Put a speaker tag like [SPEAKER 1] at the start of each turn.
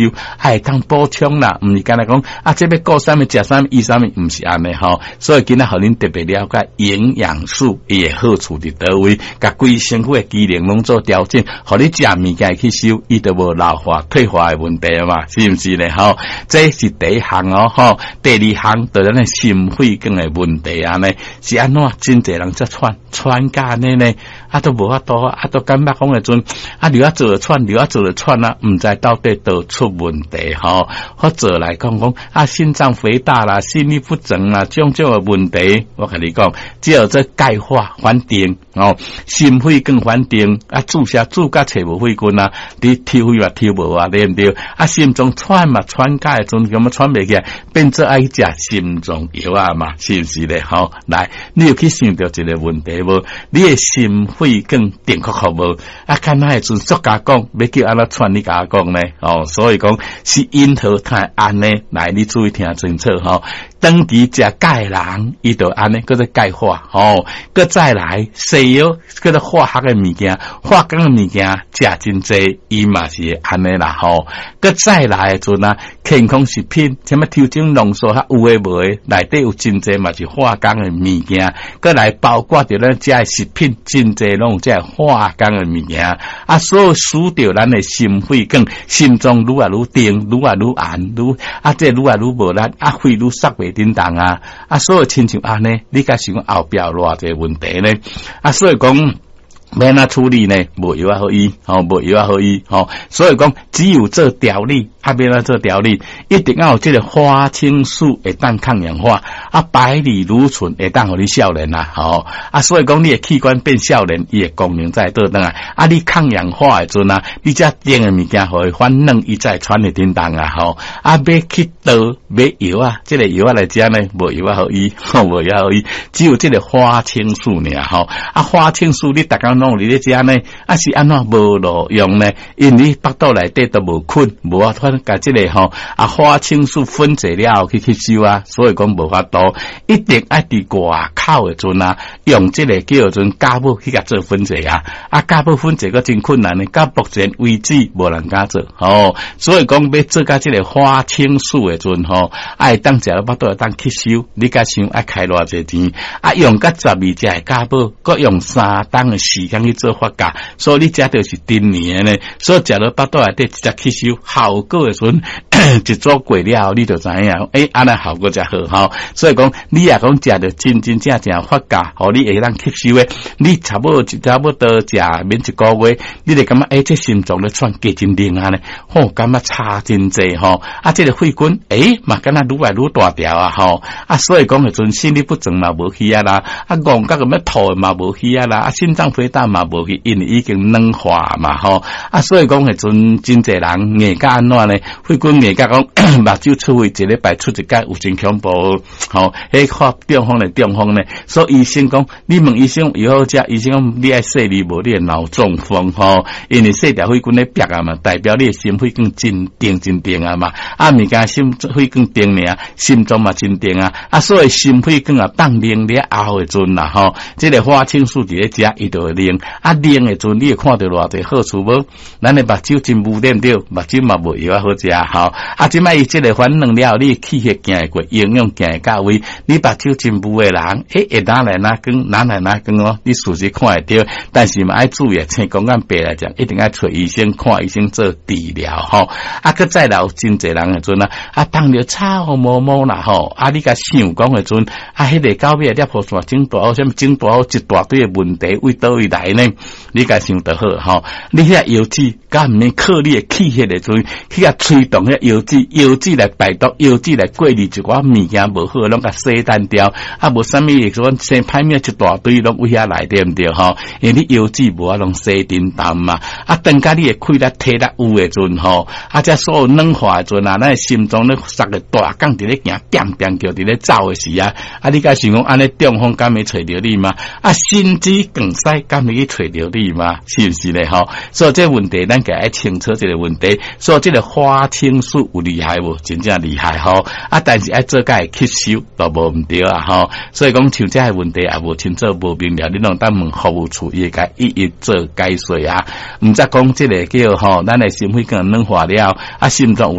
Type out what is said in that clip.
[SPEAKER 1] 收，會當補充啦，毋是干焦講啊，這欲顧啥物，食啥物，醫啥物，毋是按呢吼。所以今仔予恁特別了解營養素伊的好處佇佗位，共規身軀的機能攏做調整，予你食物件會吸收，伊就無老化退化的問題嘛，是毋是咧？吼，這是第一項哦，吼，第二項就咱的心血管的問題按呢，是按怎？真濟人才喘喘甲按呢呢，啊都無法度，啊都感覺講的陣，啊著愛做喘，著愛做喘啊，毋知到底佗出問題吼。或者來講講啊，心臟肥大啦，心律不整啦，種種的問題，我共你講，只有這鈣化反定哦，心血管反定啊，注射注甲揣無血管啊，你抽血嘛抽無啊，對毋對？啊，心臟喘嘛喘甲的陣，感覺喘袂起來，變做愛食心臟藥啊嘛，是毋是咧？吼，來，你有去想著一個問題無？你的心血管定確確無？啊，敢若的陣作家講，欲叫按怎喘？你共我講呢？哦，所以講是因何太按呢？來，你注意聽清楚吼。長期食鈣的人，伊就按呢，叫做鈣化吼。閣再來西藥，叫做化學的物件，化工的物件食真濟，伊嘛是會按呢啦吼。閣再來的陣啊，健康食品，啥物抽整濃縮較有的無的，內底有真濟嘛是化工的物件。閣來包括著咱食的食品，真濟攏有這化工的物件。啊，所以使著咱的心血管、心臟愈來愈定，愈來愈按，愈啊，這愈來愈無力，啊，血愈塞袂振動啊！啊，所以親像按呢，你敢想講後壁有偌濟問題呢？啊，所以講欲按怎處理呢？無藥仔好醫，吼，無藥仔好醫，吼。所以講，只有做調理，啊，欲按怎做調理，一定要有這個花青素會當抗氧化，啊，白藜蘆醇會當予你少年啊，吼。啊，所以講你的器官變少年，伊的功能才會倒轉來。啊，你抗氧化的陣啊，你這甜的物件予伊反軟，伊才會喘會振動啊，吼。啊，欲去倒買藥啊，這個藥仔來食呢，無藥仔好醫，吼，無藥好醫，只有這個花青素爾，吼。啊，花青素你逐工攏有佇咧食呢，啊是按怎無路用呢？因為腹肚內底都無菌，無法度共這個吼啊花青素分解了後去吸收啊，所以講無法度，一定愛佇外口的陣啊，用這個叫做酵母去共做分解啊，啊酵母分解閣真困難呢，到目前為止無人敢做，吼，所以講欲做到這個花青素的陣吼，愛當食了腹肚會當吸收，你敢想愛開偌濟錢？啊，用甲12隻的酵母，閣用3冬的時間去做發酵，所以你食著是陳年的呢，所以食落腹肚內底直接吸收，效果的時陣，一組過了後，你就知影，欸，按呢效果才好吼。所以講，你若講食著真真正正發酵，予你會當吸收的，你差不多食免一個月，你就感覺欸，這心臟咧喘加真靈啊呢，吼，感覺差真濟吼。啊，這個血管，欸，嘛敢若愈來愈大條啊吼。啊，所以講彼陣心律不整嘛無去啊啦，啊，戇甲欲吐嘛無去啊啦，啊，心臟肥大嘛無去，因為已經軟化嘛吼。啊，所以講彼陣真濟人硬甲按怎呢？血管硬甲講目睭出血一禮拜出一擺有真恐怖吼。彼發中風咧中風呢，所以醫生講，你問醫生藥好食，醫生講你愛細膩無？你會腦中風吼，因為細條血管咧煏啊嘛，代表你的心血管真定真定啊嘛。啊，物件心血管定爾，心臟嘛真定啊。啊，所以心血管啊放冷了後的陣啦吼，這個花青素佇咧食，伊就會冷。啊，冷的陣你會看著偌濟好處無？咱的目睭真無對毋對？目睭嘛無藥仔好食吼。啊，這擺伊這個反軟了後，你氣血行會過，營養行會到位。你目睭真霧的人，欸，會哪來哪光，哪來哪光哦？你事實看會著，但是嘛愛注意，青光眼病來講，一定愛揣醫生看醫生做治療吼。啊，閣再來有真濟人的陣啊，啊，當著臭毛毛啦吼。啊，你共想講的陣，啊，彼個到尾裂破線整大好，啥物整大好一大堆的問題，為佗位來呢？你共想著好吼。你遐藥劑，敢毋免靠你的氣血的陣，去共催動遐藥劑，藥劑來排毒，藥劑來過濾一寡物件無好，攏共洗淡掉。啊，無啥物會說生歹物一大堆攏為遐來對毋對吼？因為你藥劑無法攏洗叮當嘛。啊，當甲你的氣力體力有的陣吼，啊，這所有軟化的陣啊，咱的心臟咧塞個大鋼佇咧行，變變叫佇咧走的時啊，啊，你敢想講按呢中風敢會揣著你嗎？啊，心肌梗塞敢會去揣著你嗎？是毋是咧吼？所以這問題咱家愛清楚這個問題。所以這個花青素素有厲害無？真正厲害吼！啊，但是愛做甲會吸收都無毋對啊吼！所以講像這个問題也無清楚無明了，你攏當問服務處，伊會共一一做解說啊。毋則講這个叫吼，咱的心血管軟化了，啊，心臟。